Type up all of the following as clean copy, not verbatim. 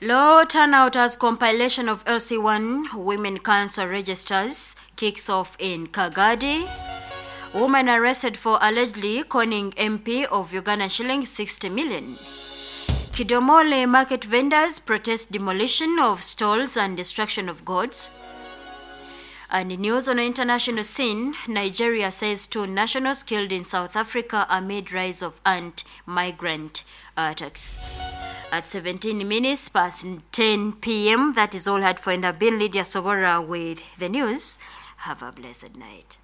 Low turnout as compilation of LC1 Women Council registers kicks off in Kagadi. Woman arrested for allegedly conning MP of Uganda shilling 60 million. Kidomole market vendors protest demolition of stalls and destruction of goods. And news on the international scene, Nigeria says two nationals killed in South Africa amid rise of ant-migrant attacks. At 17 minutes past 10 p.m., that is all had for and I've been Lydia Sobora with the news. Have a blessed night.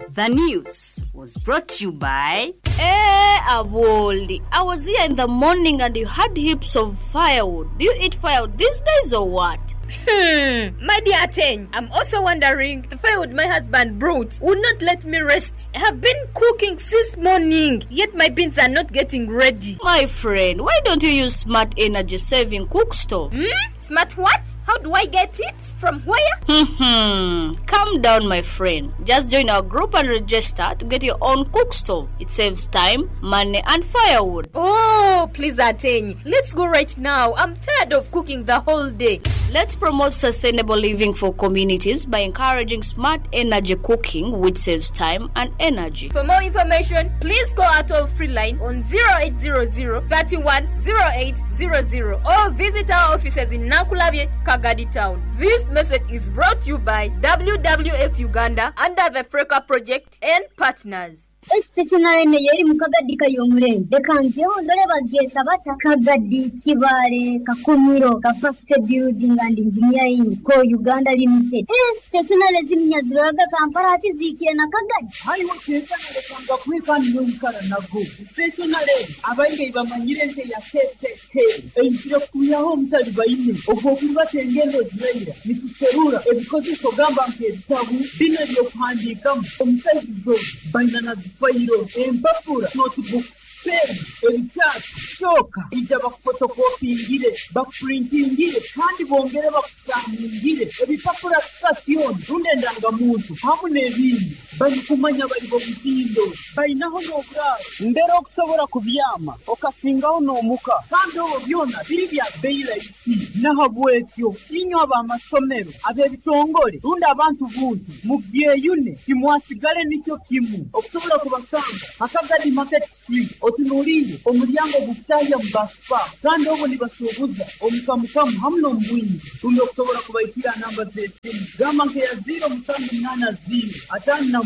The news was brought to you by Eh, Awoli, I was here in the morning and you had heaps of firewood. Do you eat firewood these days or what? My dear Ateng, I'm also wondering the firewood my husband brought would not let me rest. I have been cooking since morning, yet my beans are not getting ready. My friend, why don't you use smart energy saving cook stove? Hmm? Smart what? How do I get it? From where? Calm down, my friend. Just join our group and register to get your own cook stove. It saves time, money, and firewood. Oh, please, Ateng. Let's go right now. I'm tired of cooking the whole day. Let's promote sustainable living for communities by encouraging smart energy cooking, which saves time and energy. For more information, please call our toll free line on 0800 31 0800 or visit our offices in Nakulabye, Kagadi Town. This message is brought to you by WWF Uganda under the Freka Project and partners. Stationary eno yeri mu Kagadi Kayomulenge leka njeho ndole bagyeta bata Kagadi Kibaale Kakumiro Capacity Building and Engineering Co Uganda Limited. Stationary ziminya ziroraga Kampala ati ziikire na Kagadi. Haiwe kenkana lekanga kweka niwe nago stationary abaingi bamanyire nte ya KKK eizire kutuyaho omutali baine ogw'okurubata engendo ziraira nituserura ebikozeso gamba nk'ebitabu bino ebyokuhandiikamu omusaizizo baina na zifayiro empapura notebook pen ebikyasi kyoka ija bakufotokopingire bakupurintingire kandi bongere bakusaningire ebipapura sitasioni rundi endangamuntu hamu n'ebindi barikumanya bari bomutindo bainaho n'oburaaro mbere okusobora kubyama okasingaho n'omuka kandi obwo byona biri bya bei rahisi nahabwekyo inywe ab'amasomero ab'ebitongole rundi abantu buntu mubyeyune timwasigale nikyo kimu okusobola kubasanga akagadi market street otunuulire omulyango gukutahya mu basipa kandi obwo nibasuubuza omukamukamu hamu n'omubwingi rundi okusobola kubaikira namba z'esimu gamba nkeya 0780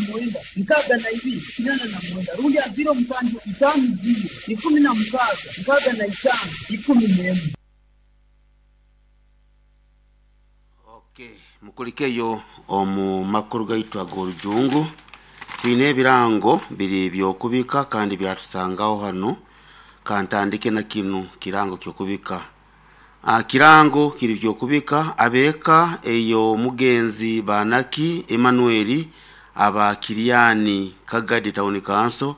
59 62 89 rundi ya 0750 16 65 11. Okay, mukulikeyo omu makuru gaitu ag'orujungu twine ebirango biri byokubika kandi byatusangaho hano kantandike na kinu kirango kyokubika. Kirango kiri byokubika abeka eyo mugenzi banaki Emmanuel aba Kiriani Kagadi Town Council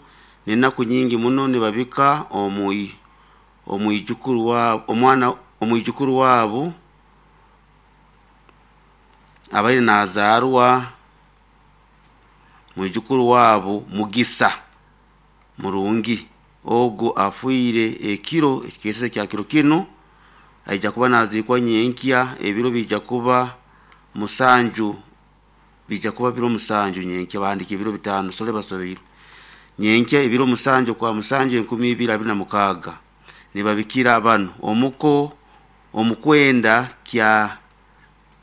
nenaku nyingi muno nibabika omwijukuru wa omwana omwijukuru wabo abaire nazarwa mwijukuru wabo Mugisa Murungi ogo afuire ekiro ekikese kya kiro kino aija kuba nazikwa nyenkya ebiro bija kuba musanju bija kuba biro musanju nyenkya bandika ebiro bitano sole basobeiro nyenkya ebiro musanju kwa musanju 2026 nibabikira bano omuko omukwenda kya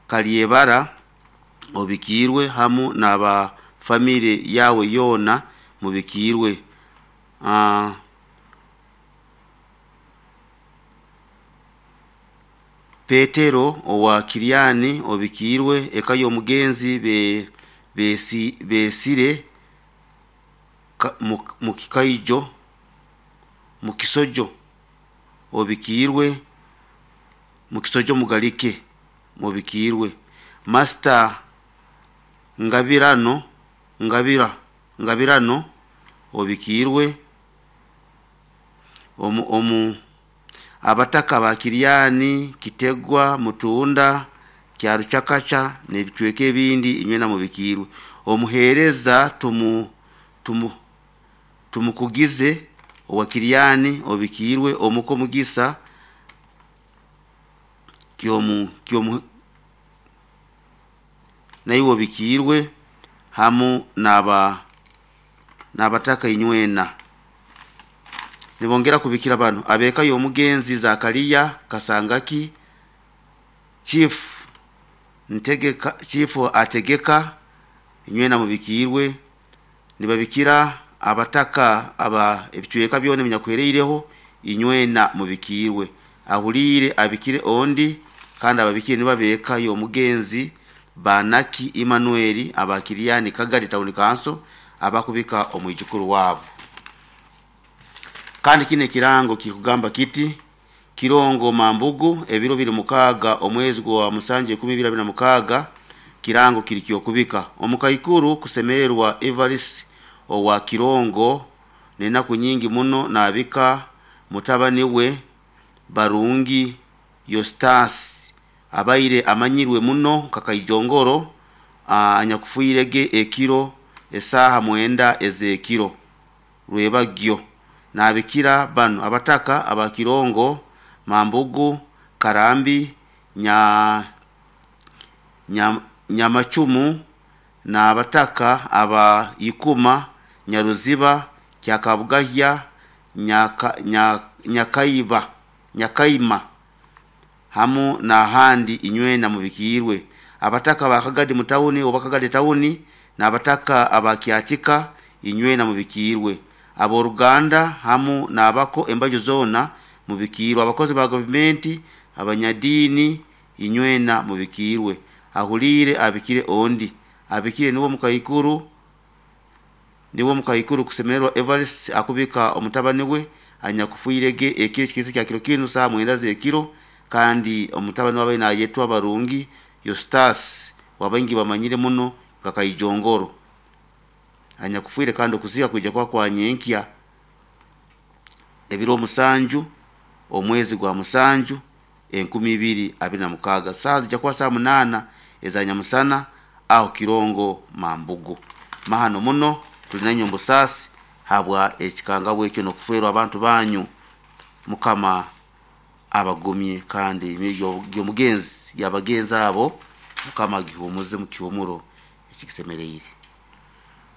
Kalyebara obikirwe hamu n'aba family yawe yona mubikirwe. Petero owa Kiriani obikirwe eka y'omugenzi besire mukikaijo mukisojo obikirwe mukisojo mugalike mubikirwe. Master Ngabirano Ngabirano obikirwe omu abataka ba Kiriani Kitegwa Mutunda Kyaruchakacha n'ebicweka ebindi inywena mubikirwe. Omuhereza tumukugize Owa Kiryani obikiirwe, omuko Mugisa kyomu kyomu naiwe obikiirwe, hamu n'abataka inywena. Nibongera kubikira bano abeka y'omugenzi Zakariya Kasangaki, Chief Ntegeka, Chief Ategeka, inywena mubikiirwe. Nibabikira abataka aba ebicweka byona ebinyakuhereireho, inywena mubikiirwe. Ahuliire abikire ondi, kandi ababikire nibabeka y'omugenzi Banaki Emmanuel abakiriani Kagadi Town Council abakubika omwijukuru wabo. Kandi kine kirango kikugamba kiti Kirongo Mambugu ebiro biri 6 omwezi gwa musanju 2026, kirango kiri kyokubika omukaikuru kusemererwa Evarist owa Kirongo nenaku nyingi muno nabika mutabani we Barungi Yostas abaire amanyirwe muno kakaijongoro anyakufuirege ekiro esaha 9 ezekiro rwebagyo. Nabikira bano abataka abakirongo Mambugu Karambi Nyamachumu na abataka aba Ikuma Nyaruziba Kyakabugahya Nyakaima hamu na handi inywena mubikiirwe. Abataka ba Kagadi mutauni oba Kagadi tauni na abataka abakyatika inywena mubikiirwe. Aboruganda hamu n'abako embajo zona mubikiirwe. Abakozi ba gavumenti, abanyadini inywena mubikiirwe. Ahuliire abikire ondi abikire niwo mukaikuru kusemererwa Evarist akubika omutabani we anyakufuirege ekiro kikisi kya kiro kinu saa 9 zekiro, kandi omutabani wabaye nayetwa Barungi Yostas wabaingi bamanyire muno kakaijongoro anyakufuire, kandi okuzika kuija kwa kwanyenkya ebiro 7 omwezi gwa 7 2026 saa zijja kuba saa 8 ezanyamusana aho Kirongo Mambugu. Mahano muno tuli mbusasi habwa ekikanga bwekyo nokuferwa abantu banyu. Mukama abagumye kandi emyoyo mugenzi yabagenzi abo Mukama gihumuze mu kihumuro ekikisemereire.